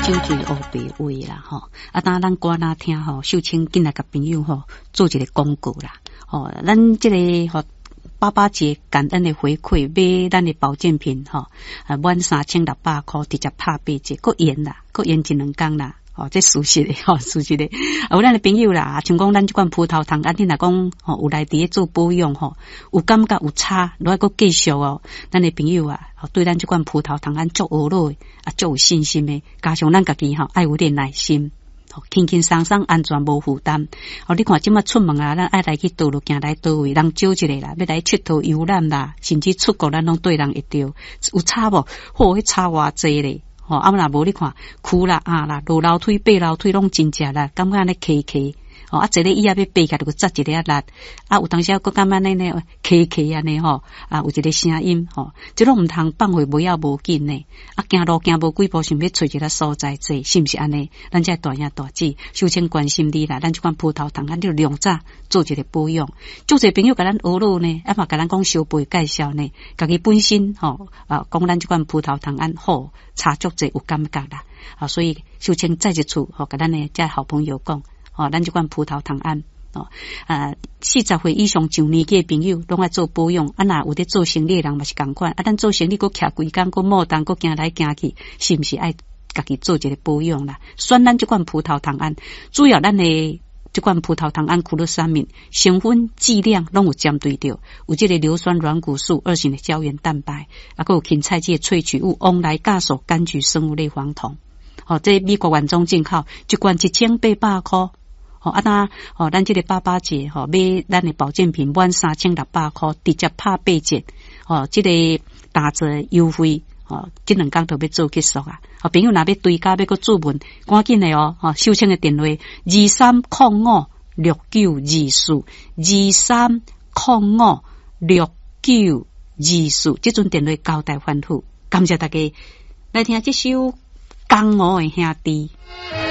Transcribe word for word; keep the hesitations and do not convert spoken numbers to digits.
酒醉烏白話啦，吼！啊，當咱歌若聽吼，秀清緊來共朋友吼做一个廣告啦，吼，咱這个吼爸爸節感恩的回饋，買咱的保健品吼，啊，滿三千六百箍直接拍八折，閣延啦，閣延一兩工啦。哦，這事實的吼，事實的。有咱的朋友啦，像講咱這款葡萄糖胺，你若講吼有來佇咧做保養吼，有感覺有差，落來閣繼續哦。咱的朋友啊，對咱這款葡萄糖胺足學落，啊，足有信心的。加上咱家己吼，愛有點耐心，輕輕鬆鬆，安全無負擔。哦，你看這馬出門啊，咱愛來去佗落行來佗位，人少一个啦，欲來𨑨迌遊覽啦，甚至出國，咱攏綴人會著，有差無？嚯，彼差偌濟咧！吼，啊若無你看，跍啦、壓啦、落樓梯、爬樓梯攏真食力，感覺按呢磕磕。哦，啊，坐咧椅仔欲爬起來，就閣扎一个仔力。啊，有當時閣感覺按呢呢磕磕按呢吼，啊，有一个聲音吼，這攏毋通放予無要無緊呢。啊，行路行無幾步，想欲揣一个所在坐，是毋是按呢？咱這大兄大姊，秀清關心你啦。咱這款葡萄糖胺，你量早做一个保養。足濟朋友共咱學落呢，啊嘛共咱講相背介紹呢，家己本身吼啊，講咱這款葡萄糖胺好，差足濟有感覺啦。啊，所以秀清再一次吼，共咱的這好朋友講。哦，咱這款葡萄糖胺哦，啊，四十歲以上上年紀的朋友攏愛做保養。啊，若有佇做生理的人嘛是仝款。啊，咱做生理閣徛規工，閣摩動，閣行來行去，是毋是愛家己做一个保養啦？選咱這款葡萄糖胺，主要咱的這款葡萄糖胺苦樂三敏成分劑量攏有針對著，有這个硫酸軟骨素二型的膠原蛋白，啊，閣有芹菜籽的萃取物、王來酵素、柑橘生物類黃酮。哦，這美國原裝進口，一罐一千八百箍。吼啊，那吼，咱這个爸爸節吼買咱的保健品滿三千六百箍，直接拍八折。吼，這个打折優惠，吼，這兩工就欲做結束啊！吼，朋友若欲追加欲閣注文，趕緊的哦！吼，秀清的電話二三空五六九二四二三空五六九二四，這陣電話交代吩咐，感謝大家來聽這首《江湖的兄弟》。